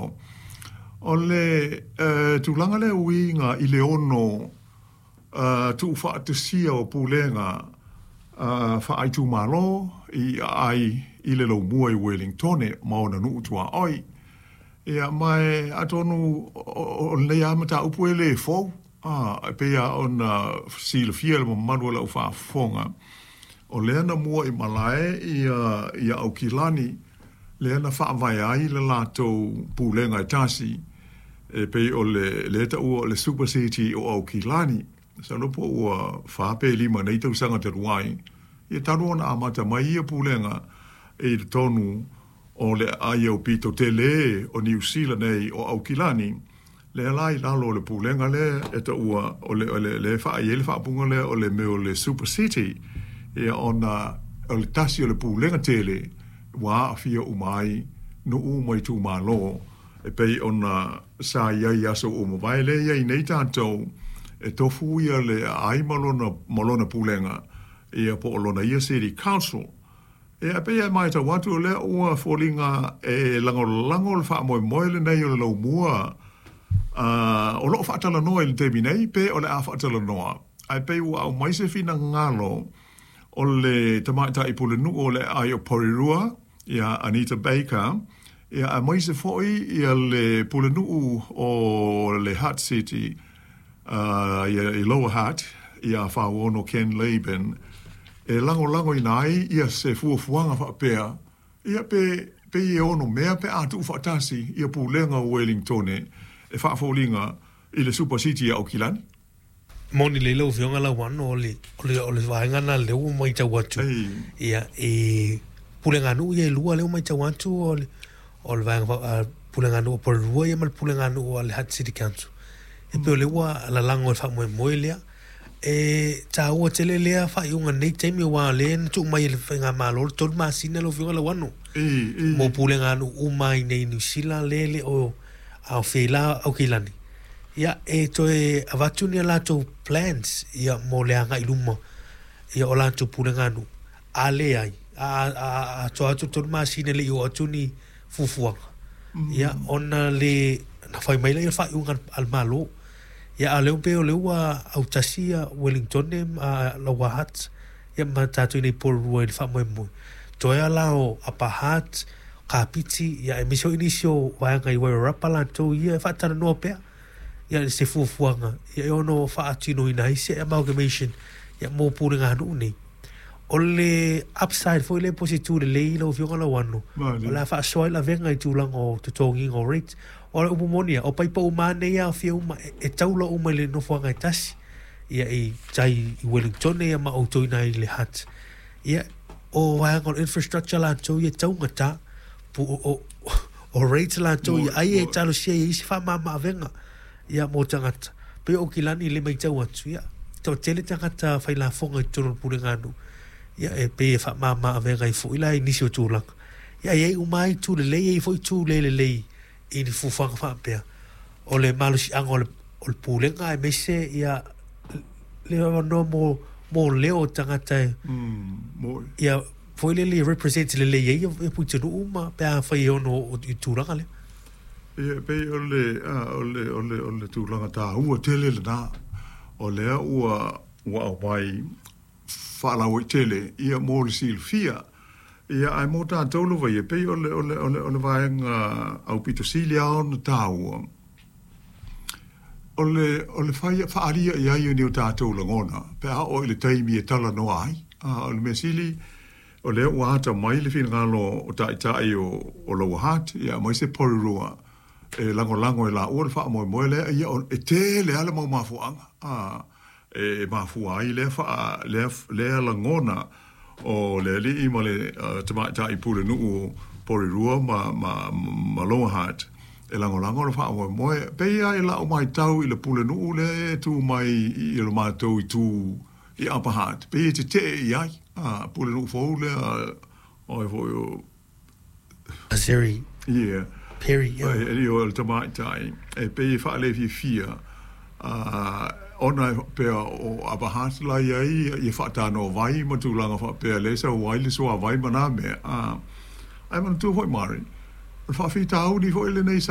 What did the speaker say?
taeao. O le tulaga lea e uiga i le ono tuufaatasia o pulega faaitumalo i aai i le Laumua i Uelintone ma ona nuu tuaoi. Ia, ma e atonu o lenei lava mataupu e le fou, e pei lava ona silafia e le mamalu o le aufaafofoga, o lea na muaimalae ia Aukilani, lea na faavae ai le latou pulega e tasi, e pei o lea e taua o le Super City o Aukilani. Masalo po ua 4 pe 5 nei tausaga talu ai, ia talu ona amata mai ia pulega i totonu o le aai aupito tele o Niu Sila nei o Aukilani, lea la i lalo o le pulega lea e taua o le lea e i ai le faaupuga lea o le mea o le Super City, ia ona o le tasi o le pulega tele ua aafia uma ai nuu ma itumalo e pei ona sa i ai i aso ua mavae. Lea e i ai nei tatou e tofu ia le aai ma lona pulega, ia po o lona ia City Council. Ia, e pei e matau atu o lea ua foliga e lagolago le faamoemoe lenei o le Laumua, o lo o faatalanoa i le taimi nei, pe o le a faatalanoa, ae pei ua aumai se finagalo o le tamaitai pulenuu o le aai o Porirua, ia Anita Baker, ia aemaise foi ia le pulenuu o le Hutt City, ia i Lower Hutt, ia Fauono Ken Laban, e lagolagoina ai ia se fuafuaga faapea, ia pe pei e ono mea pe a tuufaatasi ia pulega o Uelintone e faafoliga i le Super City a Aukilani. Moni lelei lau Afioga Lauano, o le, o le, o le vaega lena lea ua matau atu. Ia, i puleganuu ia e lua lea ua matau atu o le, o le vaega puleganuu o Porirua ia ma le puleganuu a le Hutt City Council. E pei o lea ua lalago e le faamoemoe lea. E taua tele lea faaiuga i lenei taimi aua o lea na tuu mai e le Faigamalo le 3 masina lau Afioga Lauano mo puleganuu uma i inei i Niu Sila lea e le o aofia ai la Aukilani. Ia, e toe avatu ni a latou plans ia mo le agai i luma ia o latou puleganuu. A leai, a atoa atu le 3 masina e le i oo atu ni fuafuaga, ia ona le na fai mai lea o le faaiuga a le Malo. Ia a o lea pei o lea ua autasi ia Wellingtone ma Lower Hutt ia ma tatou i inei i Porirua i le faamoemoe. Toe lava la o Upper Hutt, Kapiti, ia aemaise foi nisi o vaega i Wairarapa latou ia e faatalanoa pea ia se fuafuaga ia e ono faatinoina ai se amalgamation ia mo puleganuu nei. O le upside foi lea po o se itu lelei lau Afioga Lauano, o le a faasoa ai lavega i tulaga o totogiga o rates. O le upu moni lava, o paipa uma lava nei e aofia uma, e taula uma i le nofoaga e tasi, ia i tai i Wellingtone ia ma outou i ina i le Hutt. Ia, o vaega o le infrastructure latou ia e taugata, o rates latou ia, ai e talosia i ai isi faamama-avega ia mo tagata. Pei o Aukilani i le matau atu, ia, toatele tagata failafoga i totonu o le puleganuu, ia e pei e faamama avega ai foi la i nisi o tulaga. Ia e i ai uma lava itu lelei, e i ai foi itu le lelei i ni fuafuaga faapea. O le malosiaga o le, o le pulega aemaise ia le avanoa mo, mo leo o tagata e, ia foi lele e represent lelei ai ia Puitenuu ma pe afai e ono i tulaga lea. Ia, e pei o le, o le, o le, o le tulaga taua tele lena, o lea ua, ua aumai faalauaitele, ia, mo le silafia. Ia, ae mo tatou lava ia, e pei o le, o le, o le, o le vaega aupito sili lava ona taua, o le, o le fai, faaalia i ai o ni o tatou lagona, pe a oo i le taimi e talanoa ai. A, o le mea sili, o lea ua ata mai le finagalo o taitai o, o Lower Hutt, ia, aemaise Porirua, e lagolago e laua le faamoemoe lea, ia, e tele lava le mau mafuaaga, a, e mafua ai lea faa, lea, lea lagona o le alii ma le tamaitai pulenuu o Porirua ma, ma, ma Lower Hutt e lagolago le faamoemoe. E pei lava i lau matau i le pulenuu lea e tu mai i lo matou itu i Upper Hutt, pei e tetee i ai, a, pulenuu fou lea, oi foi o Azeri Yeah. Perry, yeah. Ai, o le tamaitai, e pei e faalefiafia, ona e faapea o Upper Hutt la i ai ia faatanoa ma tulaga faapea lea e sau ai le suavai ma nā mea. Ae manatua foi Mari, o le faafitauli foi lenei sa